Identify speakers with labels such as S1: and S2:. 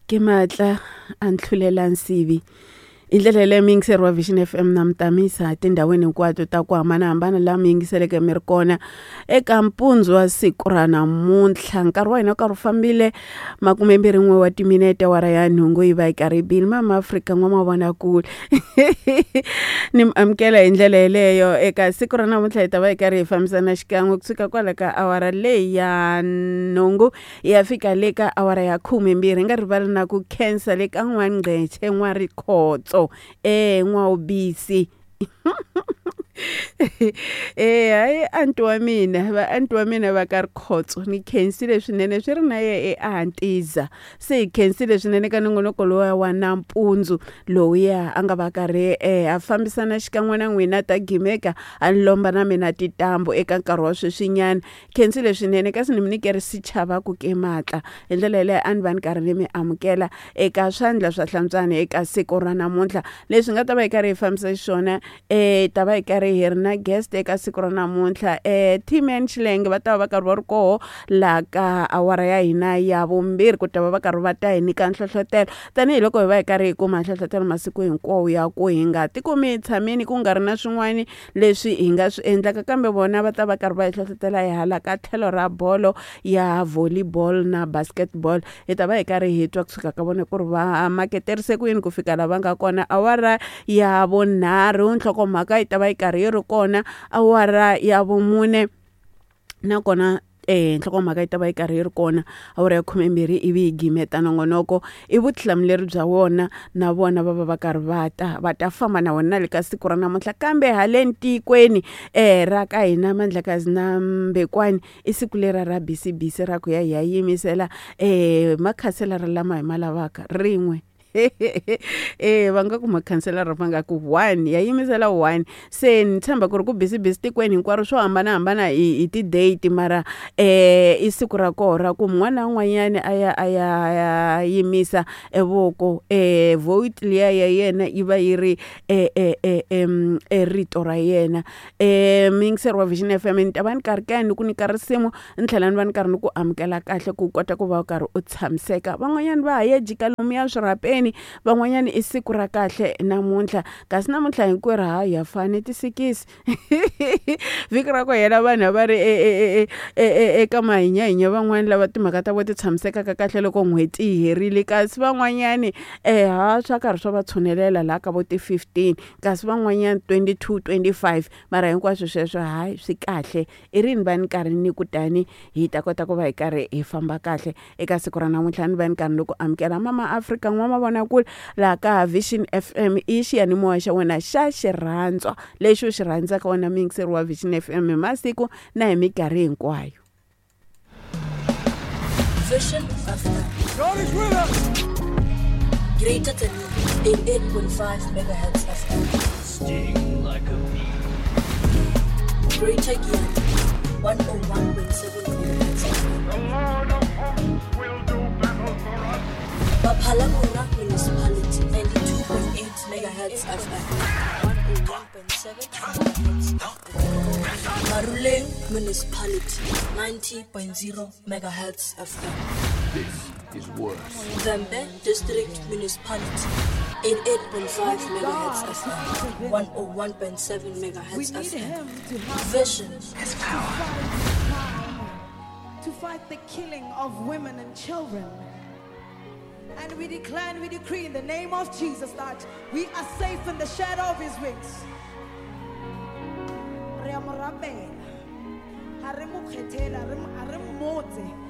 S1: Ke matla a ntlhulela nsivi hi ndlela yaleyo muyingiseri wa Vision FM na mi tamisa tindhawini hinkwato ta ku hambanahambana laha mi yingiseleke mi ri kona eka mpundzu wa siku ra namuntlha nkarhi wa hina wu karhi wu fambile makumembirhi n'we wa timinete awara ya nhungu yi va yi karhi yi bile mama Afrika n'wamavonakule ni mi amukela hi ndlela yeleyo eka siku ra namuntlha hi ta va hi karhi hi fambisana xikan'we kusuka kwala ka awara leyi ya nhungu yi ya fika le ka awara ya khumembirhi hi nga rivali na ku khensa le ka n'wangqetshe n'warikhotso e n'wawubisi e hayi anti wa mina va anti wa mina va ka rikhotso ni khensile swinene swi ri na ye eantiza se hi khensile swinene ka nongonoko lowuya wa nampundzu lowuya a nga va karhi a fambisana xikan'we na n'wina ta gimeka a ni lomba na mina tintambu eka nkarhi wa sweswinyana khensile swinene kasi ni mi nyike ri sichava ku ke matla hi ndlela yeleyo a ni va ni karhi ni mi amukela eka swandla swa hlantswani eka siku ra namuntlha leswi nga ta va hi karhi hi fambisa xiswona um ta va hi karhi hi ri na guest eka siku ra namuntlha um tman xilenge va ta va va karhi va ri koho laha ka awara ya hina ya vumbirhi ku ta va va karhi va ta hi nyika nhlohlotelo tanihiloko hi va hi karhi hi kuma nhlohlotelo masiku hinkwawo ya ku hi nga tikumi hi tshamini ku nga ri na swin'wani leswi hi nga swi endlaka kambe vona va ta va karhi va hi hlohlotela hi hala ka tlhelo ra bolo ya volleyball na basketball hi ta va hi karhi hi twa kusuka ka vona ku ri va maketerise ku yini ku fika la va nga kona awara ya vunharhu nhlokomhaka yi ta va yi karhi yi ri kona awara ya vumune nakona nhlokomhaka yi ta va yi karhi yi ri kona awara ya khumembirhi ivi yi gimeta nongonoko i vutihlamuleri bya wona na vona va va va karhi va ta va ta famba na wona na le ka siku ra namuntlha kambe haleni tikweni ra ka hina Mandlakazi na Mbekwani i siku lera ra busy ra ku ya hi ya yimisela makhanselara lama hi ma lavaka rin'we e va nga ku makhanselara va nga ku one ya yimisela one se ni tshemba ku ri ku busy busy tikweni hinkwaro swo hambanahambana hi ti-date mara i siku ra koho ra ku mun'wana na un'wanyani a ya a ya ya yimisa e voko vote liya ya yena yi va yi ri e rito ra yena muyingiseri wa Vision F_M ni ta va ni karhi ka ni ku nyika risimu ni tlhela ni va ni karhi ni ku amukela kahle ku kota ku va u karhi u tshamiseka van'wanyana va ha ye jika lomuya swirhapeni van'wanyana i siku ra kahle namuntlha kasi namuntlha hinkwerhu ha ya fani tisikisi vhiki ra ku hela vanhu a va ri eka mahinyahinya van'wani lava timhaka ta vo ti tshamisekaka kahle loko n'hweti yi herile kasi van'wanyani ha swa karhi swa va tshunelela laha ka vo ti-15 kasi van'wanyana 22 25 mara hinkwaswo sweswo hayi swi kahle i rini va ni karhi ni kutani hi ta kota ku va hi karhi hi famba kahle eka siku ra namuntlha ni va ni karhi ni ku amukela mama Afrika n'wamavonakule laha ka Vision FM i xiyanimoya xa wena xa xirhandzwa lexi u xi rhandzaka wena muyingiseri wa Vision FM hi masiku na hi minkarhi hinkwayo.
S2: Vision FM.
S3: God is with us.
S2: Greater than 88.5 megahertz FM.
S4: Sting like a bee.
S2: Greater Giyani 101.7 megahertz FM.
S3: The Lord of hosts will do battle for us.
S2: Baphalabona Municipality 92.8 megahertz FM. 101.7 megahertz FM. Maruleng Municipality 90.0 megahertz FM.
S4: This is worse.
S2: Vhembe District Municipality 88.5 megahertz FM, 101.7
S5: We
S2: megahertz
S5: need
S2: FM.
S5: him to help
S2: Vision
S5: us to fight crime, to fight the killing of women and children. And we declare and we decree in the name of Jesus that we are safe in the shadow of his wings. Re a mo rapela. Ha re mo kgethela, ha re mmotse.